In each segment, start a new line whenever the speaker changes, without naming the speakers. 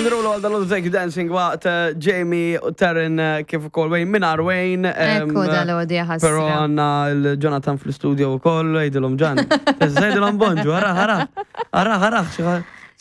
Derulo għal dal Take You Dancing waqt eh, Jamie u Taryn eh, kif ukoll Wayne mingħajr Wayne. em,
Ekku dal-għodi ħasra.
Però għandna l-Jonathan fl-studio wkoll, għidilhom ġan. Għidilhom bonġu, ara, ara, ara, ara,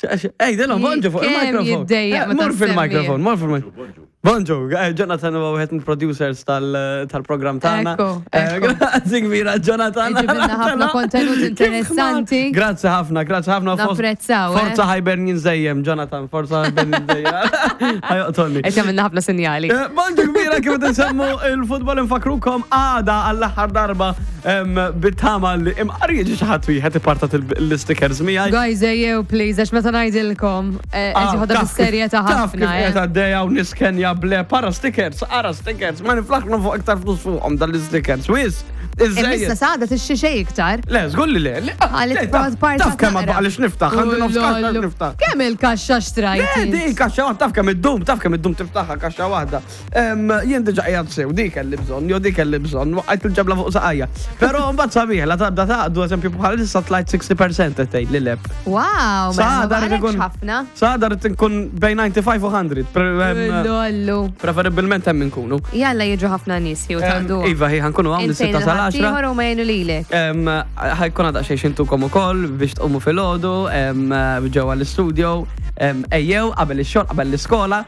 Għidilhom bonġu fuq
Kemm
il-mikrofon.
jiddejjaq
Eh,
meta
Mur fil-mikrofon,
ssemmi.
mur fil-mikrofon. Bonġu, eh, Jonathan huwa wieħed mill-producers tal-programm tagħna.
Ekku,
Eh,
ekku.
Grazzi kbira, Jonathan.
Iġibilna ħafna kontenut
Kif
interessanti.
ħmar. Grazzi ħafna, grazzi ħafna.
Napprezzaw, eh.
Forza Hibernian żejjem, Jonathan, forza Hibernian żejjem. Ħajoqtolni.
Qed jagħmilna ħafna sinjali.
Eh, Bonġu kbira kif qed insemmu il-futbol infakrukom għada għall-aħħar darba em, bit-tama li imqar jiġi xi ħadd wieħed ipartat l-stickers miegħi.
Guys, ejjew please, għax meta ngħidilkom, eh, qed
Ah,
jieħodha
taf kif-
bis-serjetà
Taf kif
ħafna. eh.
qed għaddejja u niskenja ble para stickers, ara stickers, ma niflaħna fuq iktar flus fuqhom dal-stickers. Wis,
Imma
iżejjed.
sada tixxi xejn iktar.
Le, żgur li le. le, ah,
Għalit
le, taf-
part
Taf kemm
naqra.
għaliex niftaħ, għandi nofs kaxxa
Ulollu.
niftaħ.
Kemm il-kaxxa xtrajt?
Le, di kaxxa waħda, taf kemm iddum, taf kemm iddum tiftaħha kaxxa waħda. Em, Jien diġà qiegħed sew, dik kelli bżonn, jew dik kelli bżonn, waqgħet il-ġebla fuq saqajja. Però mbagħad sabiħ, la tabda taqdu eżempju bħalissa tlajt 60% qed tgħid li leb.
Wow, mela ma
Sada rrid
baqalekx
ikun-
ħafna.
Sada rrid inkun bejn 95 u 100. pre- em,
Ulollu.
Preferibilment hemm inkunu.
Jalla jiġu ħafna nies jew
Em,
taqdu.
Iva, hi ħankunu hawn
Intejn
is-6 sal-10.
il-ħaddieħor u ma jgħinu lilek.
Em, Ħajkun għadha xejn xintukom ukoll biex tqumu filgħodu em, ġewwa l-istudio em, ejjew qabel ix-xogħol qabel l-iskola.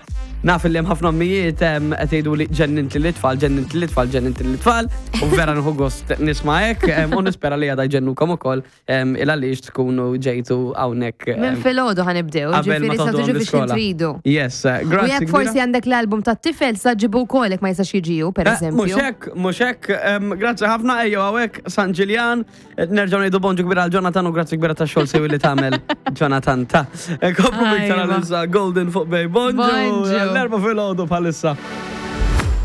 Naf li hemm ħafna ommijiet em, qed jgħidu li ġennint li l-itfal, ġennint li l-itfal, ġennint li l-itfal u vera nħu gost nisma' hekk em, u nispera li għadha jġennukom ukoll em, il għaliex tkunu ġejtu hawnhekk. em,
Minn filgħodu ħanibdew,
qabel ma
ġifieri sa
toħduhom
tiġu biex
l-iskola.
tridu.
Yes, eh,
U
grazzi.
jekk
kbira.
forsi għandek l-album tat-tifel sa ġibu wkoll jekk ma jistax jiġiju, per
Eh,
eżempju.
Mhux hekk, mhux hekk, em, grazzi ħafna ejjew hawnhekk San Ġiljan, eh, nerġgħu ngħidu bonġu kbira għal Jonathan u grazzi kbira tax-xogħol sewi li tagħmel Jonathan ta. Eh, Komplu iktar
Ajwa.
għalissa Golden fuq Bay. Bonġu,
Bonġu.
l-erba' filgħodu bħalissa.